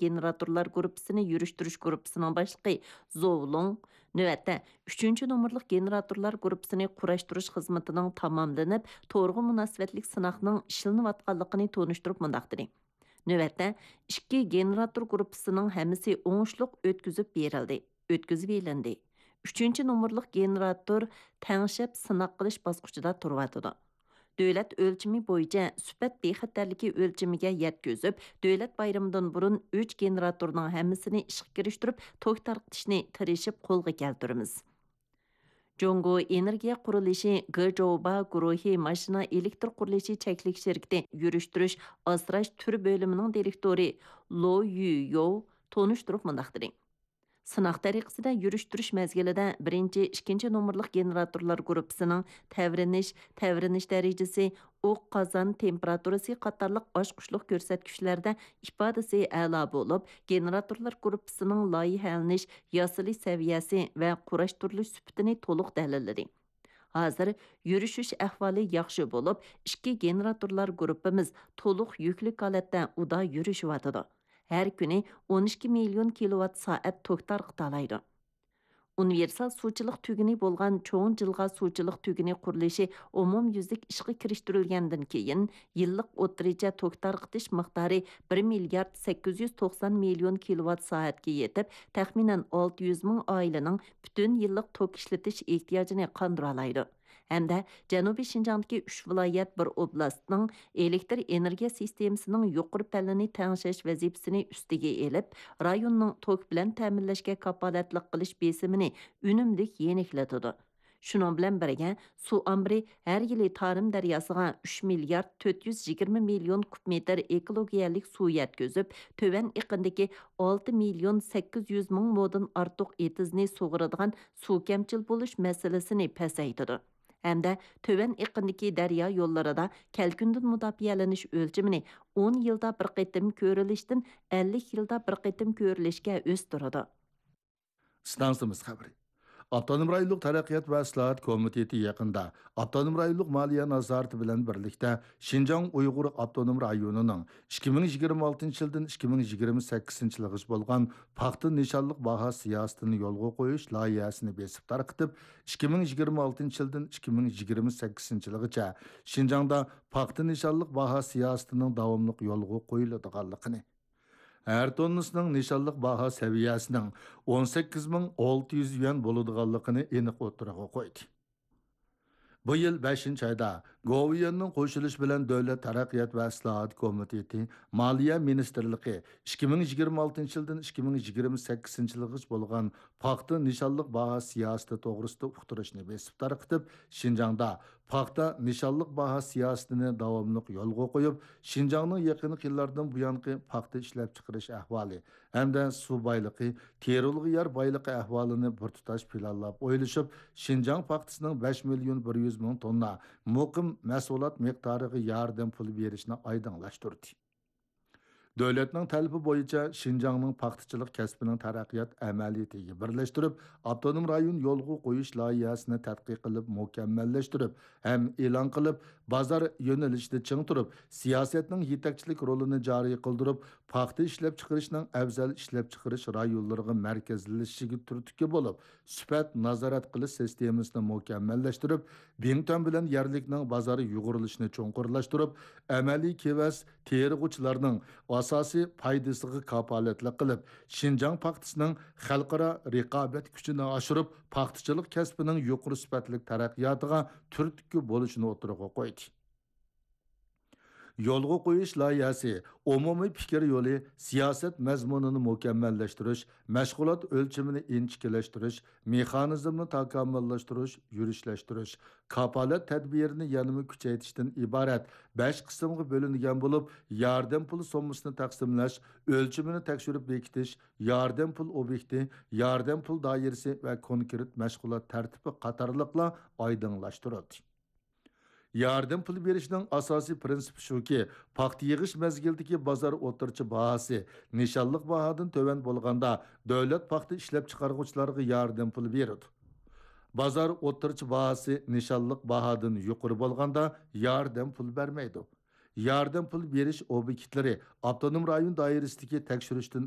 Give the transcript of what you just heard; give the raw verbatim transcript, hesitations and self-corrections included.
گېنېراتورلار گۇرۇپپىسىنى يۈرۈشتۈرۈش گۇرۇپپىسىنىڭ باشلىقى زوۋ لۇڭ نۆۋەتتە ئۈچىنچى نومۇرلۇق گېنېراتورلار گۇرۇپپىسىنى قۇراشتۇرۇش خىزمىتىنىڭ تاماملىنىپ، تورغا مۇناسىۋەتلىك سىناقنىڭ ئىشلىنىۋاتقانلىقىنى تونۇشتۇرۇپ مۇنداق دېدى: نۆۋەتتە ئىككى گېنېراتور گۇرۇپپىسىنىڭ ھەممىسى ئوڭۇشلۇق ئۆتكۈزۈپ بېرىلدى، ئۆتكۈزۈۋېلىندى. ئۈچىنچى نومۇرلۇق گېنېراتور تەڭشەپ سىناق قىلىش باسقۇچىدا تۇرۇۋاتىدۇ. دۆلەت ئۆلچىمى بويىچە سۈپەت بىخەتەرلىكى ئۆلچىمىگە يەتكۈزۈپ، دۆلەت بايرىمىدىن بۇرۇن ئۈچ گېنېراتورنىڭ ھەممىسىنى ئىشقا كىرىشتۈرۈپ، توك تارقىتىشنى تىرىشىپ قولغا كەلتۈرىمىز. جۇڭگو ئېنېرگىيە قۇرۇلۇشى گېجوۋبا گۇرۇھى ماشىنا ئېلېكتر قۇرۇلۇشى چەكلىك شىركىتى يۈرۈشتۈرۈش ئاسراش تۈر بۆلۈمىنىڭ دىرېكتورى لو يۈيوۋ تونۇشتۇرۇپ مۇنداق دېدى: سىناق تەرىقىسىدە يۈرۈشتۈرۈش مەزگىلىدە بىرىنچى، ئىككىنچى نومۇرلۇق گېنېراتورلار گۇرۇپپىسىنىڭ تەۋرىنىش، تەۋرىنىش دەرىجىسى، ئوق قازان تېمپېراتۇرىسى قاتارلىق ئاچقۇچلۇق كۆرسەتكۈچلەردە ئىپادىسى ئەلا بولۇپ، گېنېراتورلار گۇرۇپپىسىنىڭ لايىھەلىنىش، ياسىلىش سەۋىيەسى ۋە قۇراشتۇرۇلۇش سۈپىتىنى تولۇق دەلىللىدى. ھازىر يۈرۈشۈش ئەھۋالى ياخشى بولۇپ، ئىككى گېنېراتورلار گۇرۇپپىمىز تولۇق يۈكلۈك ھالەتتە ئۇدا يۈرۈشۈۋاتىدۇ. ھەر كۈنى ئون ئىككى مىليون كىلوۋات سائەت توك تارقىتالايدۇ. ئۇنىۋېرسال سۇچىلىق تۈگۈنى بولغان چوڭ جىلغا سۇچىلىق تۈگۈنى قۇرۇلۇشى ئومۇميۈزلۈك ئىشقا كىرىشتۈرۈلگەندىن كېيىن، يىللىق ئوتتۇرىچە توك تارقىتىش مىقدارى بىر مىليارد سەككىز يۈز توقسان مىليون كىلوۋات سائەتكە يېتىپ، تەخمىنەن ئالتە يۈز مىڭ ئائىلىنىڭ پۈتۈن يىللىق توك ئىشلىتىش ئېھتىياجىنى قاندۇرالايدۇ. ھەمدە جەنۇبىي شىنجاڭدىكى ئۈچ ۋىلايەت، بىر ئوبلاستنىڭ ئېلېكتر ئېنېرگىيە سىستېمىسىنىڭ يۇقىرى پەللىنى تەڭشەش ۋەزىپىسىنى ئۈستىگە ئېلىپ، رايوننىڭ توك بىلەن تەمىنلەشكە كاپالەتلىك قىلىش بېسىمىنى ئۈنۈملۈك يېنىكلىتىدۇ. شۇنىڭ بىلەن بىرگە، سۇ ئامبىرى ھەر يىلى تارىم دەرياسىغا ئۈچ مىليارد تۆت يۈز يىگىرمە مىليون كۇب مېتىر ئېكولوگىيەلىك سۇ يەتكۈزۈپ، تۆۋەن ئېقىندىكى ئالتە مىليون سەككىز يۈز مىڭ مودىن ئارتۇق ئېتىزنى سۇغىرىدىغان سۇ كەمچىل بولۇش مەسىلىسىنى پەسەيتىدۇ. ھەمدە تۆۋەن ئېقىندىكى دەريا يوللىرىدا كەلكۈندىن مۇداپىئەلىنىش ئۆلچىمىنى ئون يىلدا بىر قېتىم كۆرۈلۈشتىن ئەللىك يىلدا بىر قېتىم كۆرۈلۈشكە ئۆستۈرىدۇ. ئىستانسىمىز خەۋىرى. ئاپتونوم رايونلۇق تەرەققىيات ۋە ئىسلاھات كومىتېتى يېقىندا ئاپتونوم رايونلۇق مالىيە نازارىتى بىلەن بىرلىكتە شىنجاڭ ئۇيغۇر ئاپتونوم رايونىنىڭ ئىككى مىڭ يىگىرمە ئالتىنچى يىلدىن ئىككى مىڭ يىگىرمە سەككىزىنچى يىلىغىچە بولغان پاختا نىشانلىق باھا سىياسىتىنى يولغا قويۇش لايىھەسىنى بېسىپ تارقىتىپ، ئىككى مىڭ يىگىرمە ئالتىنچى يىلدىن ئىككى مىڭ يىگىرمە سەككىزىنچى يىلىغىچە شىنجاڭدا پاختا نىشانلىق باھا سىياسىتىنىڭ داۋاملىق يولغا قويۇلىدىغانلىقىنى، ھەر توننىسىنىڭ نىشانلىق باھا سەۋىيەسىنىڭ ئون سەككىز مىڭ ئالتە يۈز يۈەن بولىدىغانلىقىنى ئېنىق ئوتتۇرىغا قويدى. بۇ يىل بەشىنچى ئايدا گوۋۇيۈەننىڭ قوشۇلۇشى بىلەن دۆلەت تەرەققىيات ۋە ئىسلاھات كومىتېتى، مالىيە مىنىستىرلىقى ئىككى مىڭ يىگىرمە ئالتىنچى يىلدىن ئىككى مىڭ يىگىرمە سەككىزىنچى يىلغىچە بولغان پاختا نىشانلىق باھا سىياسىتى توغرىسىدا ئۇقتۇرۇشنى بېسىپ تارقىتىپ، شىنجاڭدا پاختا نىشانلىق باھا سىياسىتىنى داۋاملىق يولغا قويۇپ، شىنجاڭنىڭ يېقىنقى يىللاردىن بۇيانقى پاختا ئىشلەپچىقىرىش ئەھۋالى ھەمدە سۇ بايلىقى، تېرىلغۇ يەر بايلىقى ئەھۋالىنى بىر تۇتاش پىلانلاپ ئويلىشىپ، شىنجاڭ پاختىسىنىڭ بەش مىليون بىر يۈز مىڭ توننا مۇقىم مەھسۇلات مىقدارىغا ياردەم پۇلى بېرىشنى ئايدىڭلاشتۇردى. دۆلەتنىڭ تەلىپى بويىچە شىنجاڭنىڭ پاختىچىلىق كەسپىنىڭ تەرەققىيات ئەمەلىيىتىگە بىرلەشتۈرۈپ، ئاپتونوم رايون يولغا قويۇش لايىھەسىنى تەتقىق قىلىپ مۇكەممەللەشتۈرۈپ ھەم ئېلان قىلىپ، بازار يۆنىلىشىدە چىڭ تۇرۇپ، سىياسەتنىڭ يېتەكچىلىك رولىنى جارى قىلدۇرۇپ، پاختا ئىشلەپچىقىرىشنىڭ ئەۋزەل ئىشلەپچىقىرىش رايونلىرىغا مەركەزلىشىشىگە تۈرتكە بولۇپ، سۈپەت نازارەت قىلىش سىستېمىسىنى مۇكەممەللەشتۈرۈپ، بىڭتۈەن بىلەن يەرلىكنىڭ بازار يۇغۇرۇلۇشىنى چوڭقۇرلاشتۇرۇپ، ئەمەلىي كېۋەز تېرىغۇچىلارنىڭ ئاساسىي پايدىسىغا كاپالەتلىك قىلىپ، شىنجاڭ پاختىسىنىڭ خەلقئارا رىقابەت كۈچىنى ئاشۇرۇپ، پاختىچىلىق كەسپىنىڭ يۇقىرى سۈپەتلىك تەرەققىياتىغا تۈرتكە بولۇشىنى ئوتتۇرىغا قويدى. يولغا قويۇش لايىھەسى ئومۇمىي پىكىر يولى، سىياسەت مەزمۇنىنى مۇكەممەللەشتۈرۈش، مەشغۇلات ئۆلچىمىنى ئىنچىكىلەشتۈرۈش، مېخانىزمنى تاكامۇللاشتۇرۇش، يۈرۈشلەشتۈرۈش، كاپالەت تەدبىرىنى يەنىمۇ كۈچەيتىشتىن ئىبارەت بەش قىسىمغا بۆلۈنگەن بولۇپ، ياردەم پۇل سوممىسىنى تەقسىملەش، ئۆلچىمىنى تەكشۈرۈپ بېكىتىش، ياردەم پۇل ئوبيېكتى، ياردەم پۇل دائىرىسى ۋە كونكرېت مەشغۇلات تەرتىپى قاتارلىقلار ئايدىڭلاشتۇرۇلدى. ياردەم پۇل بېرىشنىڭ ئاساسىي پىرىنسىپى شۇكى، پاختا يىغىش مەزگىلىدىكى بازار ئوتتۇرىچە باھاسى نىشانلىق باھادىن تۆۋەن بولغاندا، دۆلەت پاختا ئىشلەپچىقارغۇچىلارغا ياردەم پۇلى بېرىدۇ. بازار ئوتتۇرىچە باھاسى نىشانلىق باھادىن يۇقىرى بولغاندا، ياردەم پۇل بەرمەيدۇ. ياردەم پۇل بېرىش ئوبيېكتلىرى ئاپتونوم رايون دائىرىسىدىكى تەكشۈرۈشتىن